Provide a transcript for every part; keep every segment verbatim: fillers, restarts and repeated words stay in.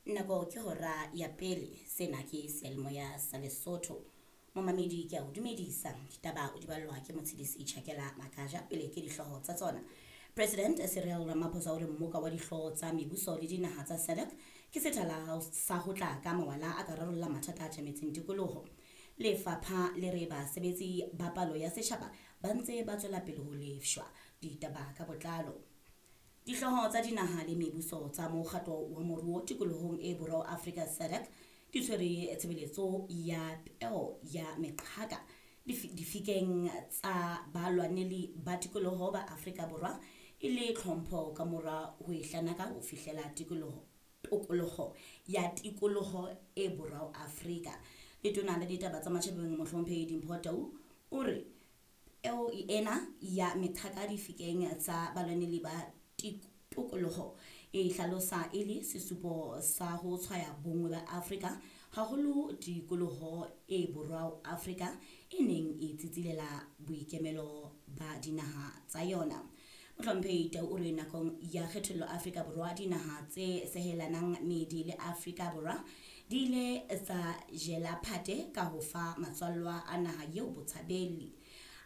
Nako ke hora ya pele. Sena ke seyalemoya sa Lesotho. Momamedi, ke a o dumedisa. Ditaba o di ballwa ke Motshedisi Tjhakela Makaja. Pele ke dihlooho tsa tsona. President Cyril Ramaphosa o re mmoka wa dihlooho tsa mebuso le dinaha tsa SADC ke sethala sa ho tla ka mawala a ka rarolla mathata a tjametseng tikoloho. Lefapha le re basebetsi ba palo ya setjhaba ba ntse ba tswela pele ho lefshwa. Ditaba ka botlalo. Dihlooho tsa dinaha le mebuso tsa mokgatlo wa moruo tikolohong e borwa Afrika SADC di tshwere tshebeletso ya peo ya meqhaka difikeng tsa balwaneli ba tikoloho ba Afrika Borwa e le tlhompho ka mora ho e hlanaka ho fihlela tikoloho tokoloho ya tikoloho e borwa Afrika. Letona la ditaba tsa matjhabeng Mohlomphehi Dimpho Tau o re peo ena ya meqhaka difikeng tsa balwaneli ba tokoloho e hlalosa e le sesupo sa ho tshwaya bonngwe ba Afrika, haholo tikoloho e borwa Afrika e neng e tsitsilela boikemelo ba dinaha tsa yona. Mohlomphehi Tau o re nakong ya kgethollo Afrika Borwa, dinaha tse sehelanang meedi le Afrika Borwa di ile tsa jela phate ka ho fa matswallwa a naha eo botshabeli.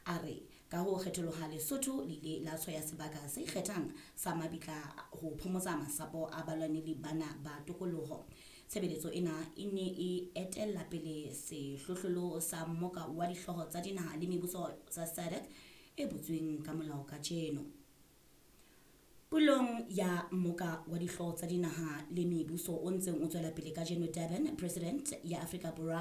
A re ka ho kgetholoha Lesotho le ile la tshwaya sebaka se ikgethang sa mabitla ho phomotsa masapo a balwaneli bana ba tokoloho. Tshebeletso ena e ne e etella pele sehlohlolo sa mmoka wa dihlooho tsa dinaha le mebuso tsa SADC e butsweng ka molao kajeno. Pulong ya mmoka wa dihlooho tsa dinaha le mebuso o ntseng o tswela pele kajeno Durban, President ya Afrika Borwa